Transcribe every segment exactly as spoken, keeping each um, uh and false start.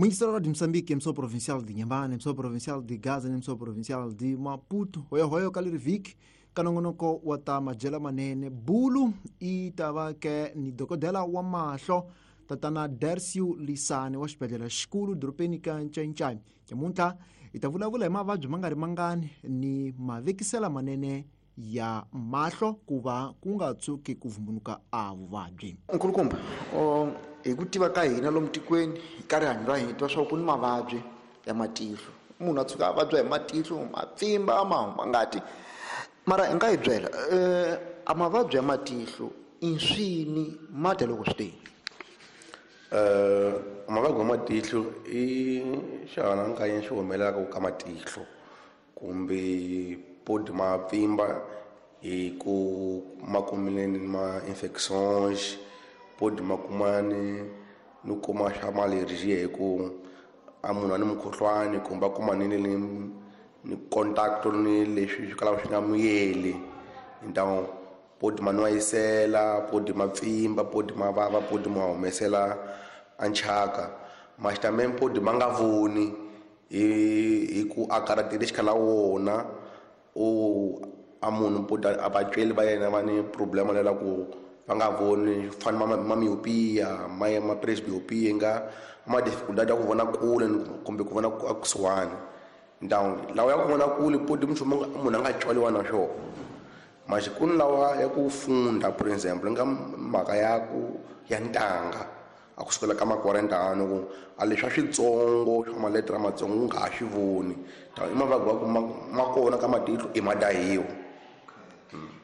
Muingiselo ra Moçambique, emissão provincial de Inhambane, emissão provincial de Gaza, emissão provincial de Maputo, hoyo hoyo ka leri vhiki ka nongonoko wa ta madyelo manene bulu i ta va ke ni dokodela wa mahlo tatana Dercio Lisane wa xibedhlele xikulu dorobeni ka Ncayincai. Nyamuntlha hi ta vulavula hi mavabyi ma nga ri mangani ni mavekisela manene ya mahlo ku va ku nga tshuki ku vumbunuka a vuvabyi. Nkulukumba, hi ku tiva ka hina lomu tikweni ka rihanyo ra hina, tiva swa ku ni mavabyi ya matihlo, munhu a tshuka a vabya hi matihlo, ma pfimba, ma huma ngati, mara hi nga hi byela um a mavabyi ya matihlo i swini, ma dya loko swi teni? um mavabyi ya matihlo i xihanankanyi xi humelelaka ka matihlo kumbe podi ma pfimba hi ku ma kumile ni ma infections, podi ma kumani ni kuma swa ma-allergie hi ku a munhu a ni mukhuhlwani kumbe a kuma ni ni ni contact ni leswi swi kalaka swi nga muyeli. Então podi ma nwayisela, podi ma pfimba, podi ma vava, podi ma humesela a nchaka, mas também podi ma nga voni hi hi ku a karhatile xikhala wona o a munhu podi a vatsweli va yena va ni problema lela ku va nga voni fana ma ma myopia, ma ma presbyopia, nga ma dificuldade ya ku vona kule kumbe ku vona a kusuhani. Então lawa ya ku vona kule podi nchumu munhu a nga tswaliwa na swona, mas ku ni lawa ya ku funda, por exemple nga mhaka ya ku ya ntanga a kusukela ka makuarenta ano ku a leswi swa switsongo swa maletere matsongo u nga ha swi voni, i mavabyi wa ku ma kona ka matihlo i ma dahiwa.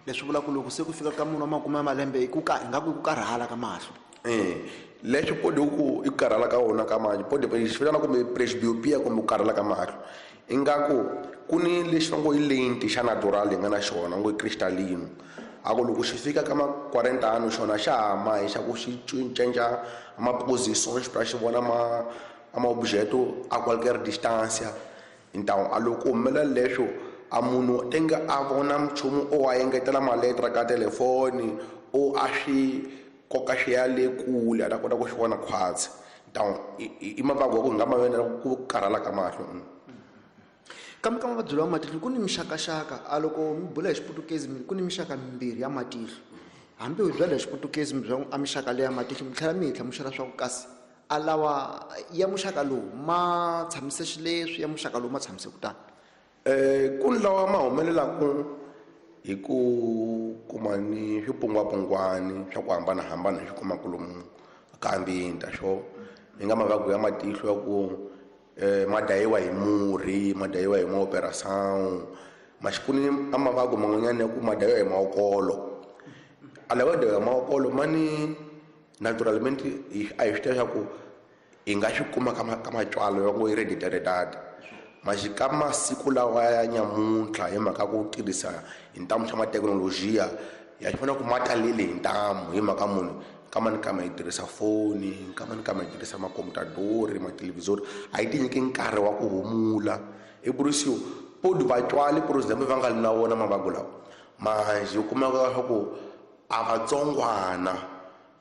Leswi vulaka loko se ku fika ka munhu wa makume ya malembe i ku ka ingaku i ku karhala ka mahlo? E leswi podi ku i ku karhala ka wona ka mahlo, podi xi vitana kumbe presbyopia kumbe ku karhala ka mahlo, ingaku ku ni lexi va ngo i lenti xa natural hi nga na xona ngo i crystalline, a ku loko xi fika ka ma quarenta ano xona xa hama hi xa ku xi cinca ma positions pra xi vona ma ma objeto a qualquer distância. Então a loko humelela leswo a munhu tenga a vona nchumu o a engetela maletra ka telefoni o a swi koka xi ya le kule a ta kota ku xi vona khwatsi. Então i mavabyi wa ku hi nga ma vona ku karhala ka mahlo. Kambe ka mavabyi lawa matihlo ku ni mixakaxaka, a loko mi bula hi xiputukezi ku ni mixaka mimbirhi ya matihlo, hambi hi byela hi xiputukezi mi byela a mixaka leya matihlo mi tlhela mi hi hlamusela swa ku kasi a lawa ya muxaka lowu ma tshamise xileswi, ya muxaka lowu ma tshamise kutani. um ku ni lawa ma humelelaku hi ku kuma ni swipungwapungwani swa ku hambanahambana hi swi kumaka lomu ka ambinta swo hi nga mavabyi ya matihlo ya ku um ma dayiwa hi murhi, ma dayiwa hi maoperação, mas ku ni a mavabyi man'wanyana ya ku ma dayiwa hi maokolo. A lawa ya dayiwa hi maokolo ma ni naturalmente a hi swi tiva swa ku hi nga swi kuma ka ka matswalo ya ngo hereditariedade, mas ka masiku lawa ya nyamuntlha hi mhaka ku tirhisa hi ntamu xa mathekinolojiya ya swi vona ku ma talele hi ntamu hi mhaka munhu nkama ni kama hi tirhisa foni, nkama ni kama hi tirhisa makomputadori, mathelevhizori, a yi ti nyiki nkarhi wa ku humula. I burisiwa podi vatswali por exemple va nga li na wona mavabyi lawa, manjhe u kumeka swa ku a vatsongwana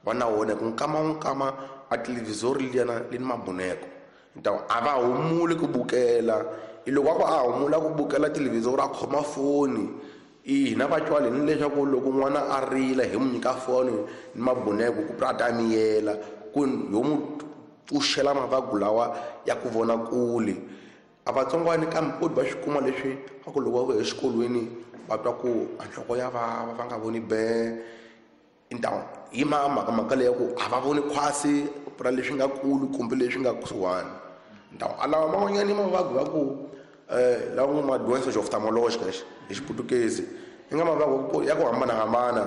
va na wona hi ku nkama nkama a televhizori liyana li ni mabuneko, então a va humuli ku bukela, i loko a ku a humula ku bukela televhizori a khoma foni i hina vatswali ni leswaku loko n'wana a rila hi n'wi nyika foni ni mabuneko ku a ta miyela ku ho n'wi pfuxela mavabyi lawa ya ku vona kule. A vatsongwani kambe podi va swi kuma leswi a ku loko va vuya exikolweni va twa ku a nhloko ya vava, va nga voni be, então hi ma mhaka mhaka leya ku a va voni khwasi ra leswi nga kulu kumbe leswi nga kusuhani. Então a lawa man'wanyana i mavabyi va ku um lawa ngo ma doenças oftalmológicas hi xiputukezi, i nga mavabyi ya ku hambanahambana,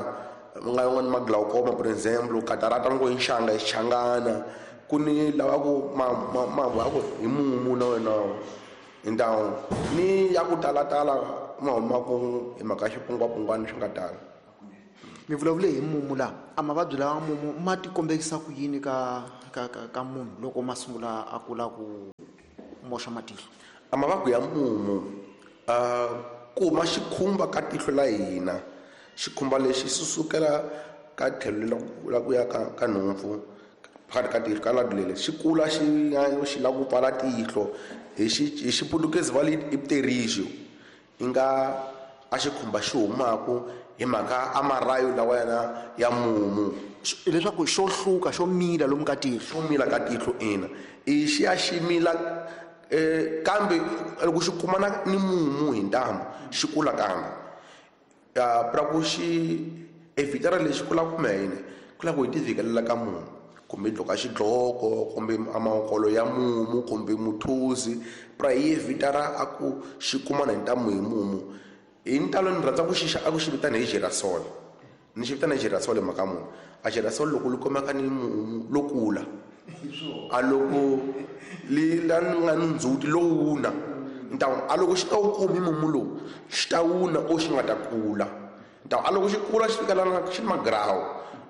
nga yin'wana ma glaucoma por exemple, catarata ngo i nxanga i xichangana, ku ni lawa ku ma ma ma ya ku hi mumu na wena. Então ni ya ku talatala ma humaku hi mhaka ya xipungwapungwani swi nga tala. Mi vulavule hi mumu laha, a mavabyi lawa mumu ma ti kombekisa ku yini ka ka ka ka munhu loko ma sungula a kula ku moxa matihlo? A mavabyi ya mumu uh, ku ma xikhumba ka tihlo la hina, xikhumba lexi xi sukela ka tlhelo la ku ya ka ka nhompfu phakathi ka tihlo ka ladulele xi kula xi xi lava ku pfala tihlo hi xi hi xiputukezi va li i pterigio i nga a xikhumba xi humaku hi mhaka a marayo lawa yana ya mumu leswaku xo hluka xo mila lomu ka tihlo xo mila ka tihlo ina i xi ya xi mila eh kambe loko xi kumana ni mumu hi ntamu xi kula kambe ya pra ku xi evitara lexi kula kumbe yini ku lava ku hi tivikelela ka mumu kumbe dloka xidloko kumbe amakolo ya mumu kumbe muthuzi pra hi evitara a ku xi kumana hi ntamu hi mumu hi ntalo ni rhandza ku xi a ku xi vitana hi girasol ni xi vitana hi girasol mhaka munhu a girasol loko li kumeka ni mumu lo kula a loko li la nga ni ndzhuti lowuna ntawu a loko xi ta wu kumi mumu lowu xi ta wuna o xi nga ta kula ntawu a loko xi kula xi fika lana xi ni magrawu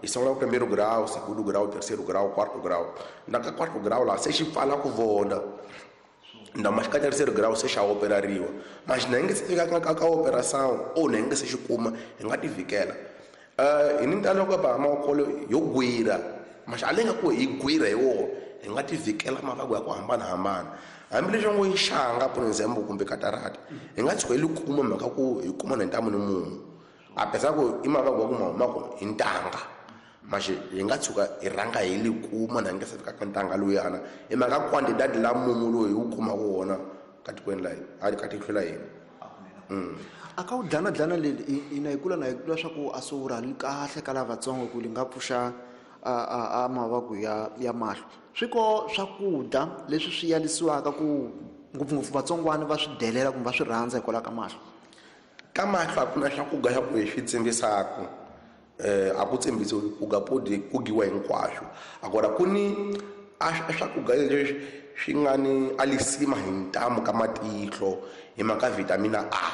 hi sungula ku primeiro grau segundo grau terceiro grau quarto grau na ka quarto grau laha se xi pfala ku vona ndama xi ka terceiro grau se xa operariwa mas na nge se fika ka ka operação o na nge se xi kuma hi nga tivikela eh hi ni ntalo ka ba makolo yo gwira mas a lenga ku hi gwira hi wo hi nga tivikela mavabyi ya ku hambanahambana hambileswi ngo yi xanga por example kumbe katarata hi nga tshuka hi li kuma mhaka ku hi kuma na ntamu ni mumu a pesa ku i mavabyi ya ku ma humaka hi ntanga mas hi nga tshuka hi rhanga hi li kuma na nge se fika ka ntanga luyana hi mhaka quantidade la mumu lowu hi wu kumaka wona ka tikweni la hina ka tihlo la hina a ka wu dlana dlana leli ina hi kula na hi kula swa ku a swi rhali kahle ka lavatsongo ku li nga pfuxa a a a mavabyi ya ya mahlo swi ko swakudya leswi swi yalisiwaka ku ngopfungopfu vatsongwana va swi delela kumbe va swi rhandza hikwalaho ka mahlo ka mahlo a ku na swakudya swa ku hi swi tsimbisaka eh a ku tsimbisiwi ku ga podi ku giwa hinkwaswo agora ku ni a swakudya leswi swi nga ni alisima hi ntamu ka matihlo hi mhaka vitamina A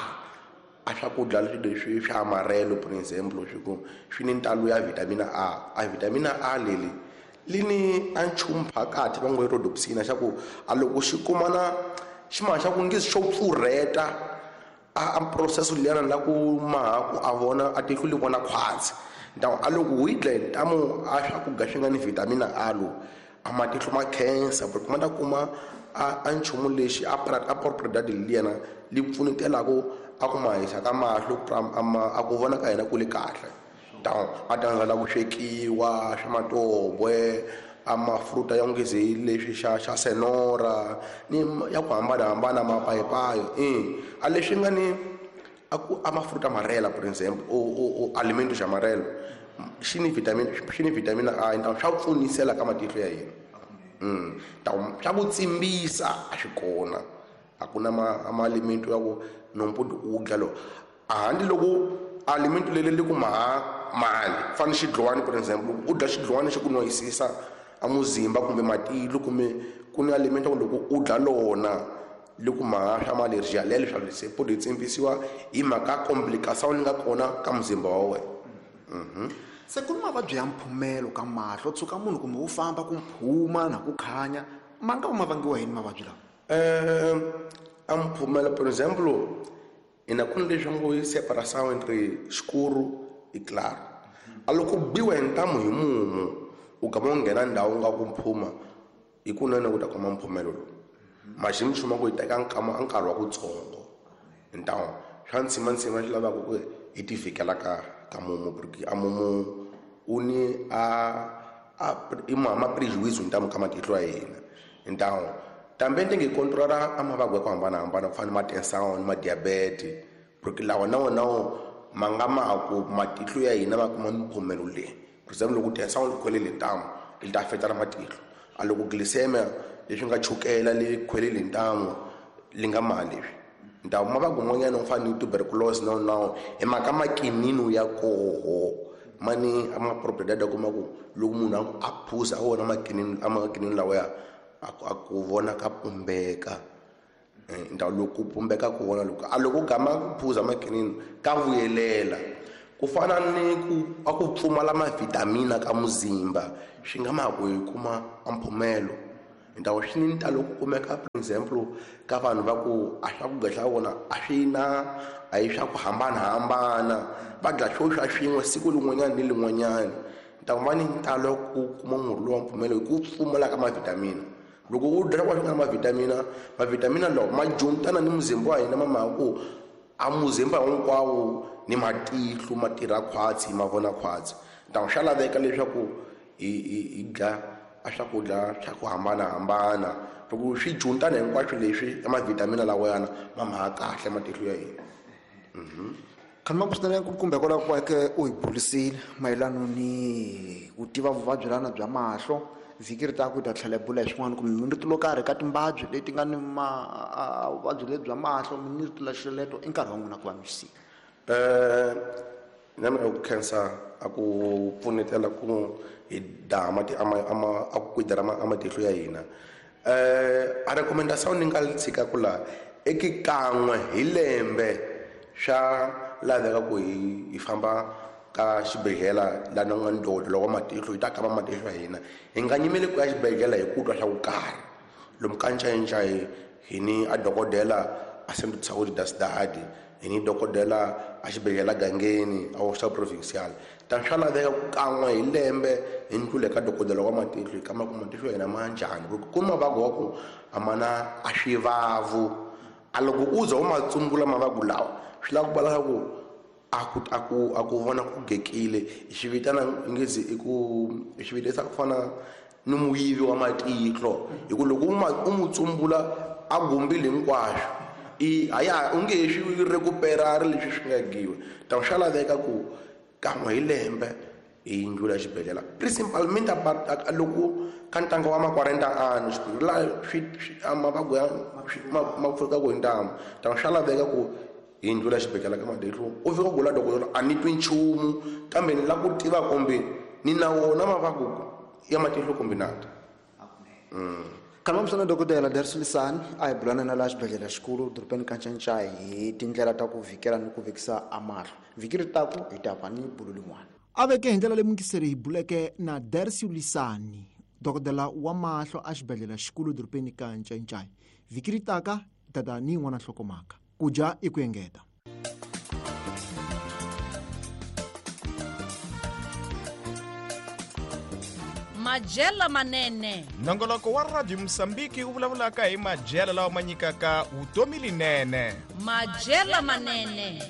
a swakudya leswi swa amarelo por example swi ku swi ni ntalo ya vitamina A a vitamina A leli li ni a nchumu phakathi va ngo rhodopsina xa ku a loko xi kumana xi ma xa ku nge xo pfurheta a a process liyana la ku maha ku a vona a tihlo li vona khwatsi ntawu a loko wu yi dla hi ntamu a swakudya swi nga ni vitamina A lo a matihlo ma khensa porque ma ta kuma a a nchumu lexi a a propriedade liyana li pfunetelaku a ku ma hisa ka mahlo a ku vona ka hina ku li kahle ntawu a tandzela ku swekiwa swa matobwe a mafruta ya ngezi leswi xa xa senora ni ya ku hambanahambana mapayipayi i a leswi nga ni a ku a mafruta amarela por example o o o alimento xa amarelo xi ni vitamin xi ni vitamina A ntawu swa pfunisela ka matihlo ya hina mm ntawu swa ku tsimbisa a swi kona a ku na ma alimento ya ku nompodi u dla lo a handle loko alimento leli li ku maha mali fana xidlwani por example u dya xidlwani xi ku noyisisa a muzimba kumbe matihlo kumbe ku ni alimento loko u dla lona li ku maha swa ma-allergie lelo swa se podi tsimbisiwa hi mhaka complication li nga kona ka muzimba wa wena. Se ku ni mavabyi ya mphumelo ka mahlo tshuka munhu kumbe wu famba ku mphuma na ku khanya ma nga va ma vangiwa yini mavabyi lawa um a mphumelo por example ina ku ni leswi ngo yi separação entre escuro e claro a loko biwa hi ntamu hi mumu u gama u nghena ndhawu nga ku mphuma hi kunene u ta kuma mphumelo lowu maxi mi ku yi teka nkama nkarhi wa kutsongo ntawu swa ntsimantsima swi lavaka ku hi tivikela ka ka mumu porque a mumu u ni a a i ma ma prejuízo ntamu ka matihlo ya hina ntawu tambe ndenge controlar a mavabyi ya ku hambanahambana ku fana na ma tensão ni ma diabete porque lawa na wona ma nga ma ku matihlo ya hina ma kuma mphumelo leyi por example loko tensão li khwelele ntamu li ta affecta na matihlo a loko glycemia leswi nga chukela li khwelele ntamu li nga ma leswi ntawu mavabyi man'wanyana ku fana ni tuberculose na na hi mhaka makinino ya koho mani a ma propriedade kuma ku loko munhu a phuza a wona makinino a makinino lawa ya a ku vona ka pumbeka ntawu loko ku pumbeka ku vona loko a loko gama ku phuza makinino ka vuyelela ku fana ni ku a ku pfumala mavitamina ka muzimba swi nga ma ku hi kuma a mphumelo ntawu swi ni ntalo ku kumeka for example ka vanhu va ku a swakudya swa vona a swi na a hi swa ku hambanahambana va dya swo swa swin'we siku lin'wanyana ni lin'wanyana Ta va ni ntalo ku kuma murhi lowa mpfumelo hi ku pfumala ka mavhitamini. Loko u dya kwa swi nga na mavhitamina, mavhitamina lawa ma juntana ni muzimba wa hina ma mhaka ku a muzimba hinkwawo ni matihlo ma tirha khwatsi ma vona khwatsi. Ta swa laveka leswaku hi hi hi dya a swakudya swa ku hambanahambana. Loko swi juntana hinkwaswo leswi ya mavhitamina lawayana ma mhaka kahle matihlo ya hina. Mhm. Khalima kusina kumbe kwala kwake u hi bulisile mayelana ni ku tiva vuvabyi lana bya mahlo. Vhiki ri ta ku ta tlhela bula hi swin'wana kumbe minrito lo karhi ka timbabyi leti nga ni ma vuvabyi lebyi bya mahlo, minrito la xeleto i nkarhi wa n'wina ku va mi swi. Eh na mina ku khensa a ku pfunetela ku hi daha mati ama ama a ku kwidera ma matihlo ya hina. Eh a recommendation ni nga tshika ku la eki kan'we hi lembe swa laveka ku hi hi famba ka xibedhlele la na nga ndodo loko matihlo hi ta kamba matihlo ya hina. Hi nga nyimeli ku ya xibedhlele hi ku twa swa ku karhi. Lomu ka ncayincayi hi ni a dokodela a Centro de Saúde da Cidade, hi ni dokodela a xibedhlele gangeni a hospital provincial. Ta swa laveka ku kan'we hi lembe hi ndlule ka dokodela wa matihlo hi kamba ku matihlo ya hina ma njhani. Ku ku mavabyi wa ku a ma na a swivavu. A loko u za u ma tsumbula mavabyi lawa swi lava ku vula ku a ku a ku a ku vona ku gekile. Hi xi vitana ngezi i ku hi xi vitisa ku fana ni muyivi wa matihlo. Hi ku loko u ma u mu tsumbula a gumbile hinkwaswo i a ya u nge swi recupera ri leswi swi nga giwa. Ta swa laveka ku kan'we hi lembe hi ndlula xibedhlele. Principalmente a loko ka ntanga wa ma quarenta anos la swi mavabyi ya ma pfuka ku hi ntamu. Ta swa laveka ku hi ndlula xibedhlele ka matihlo. U fika ku la dokodela a ni twi nchumu kambe ni la ku tiva kumbe ni na wona mavabyi ya matihlo kumbe na. Mm. Khalima msana dokodela Dercio Lisani a hi bulana na la xibedhlele xikulu dorobeni ka Ncancai hi tindlela ta ku vhikela ni ku vekisa a mahlo. Vhiki ri taku hi ta va ni bulu lin'wana. A veke hi ndlela leyi muyingiseri hi buleke na Dercio Lisani, dokodela wa mahlo a xibedhlele xikulu dorobeni ka Ncancai. Vhiki ri taka hi ta ta ni yin'wana nhlokomhaka. Ku dya i ku engeta. Majela manene. Nongoloko wa Radio Mozambique wu vulavulaka hi majela lawa ma nyikaka vutomi linene. Majela manene.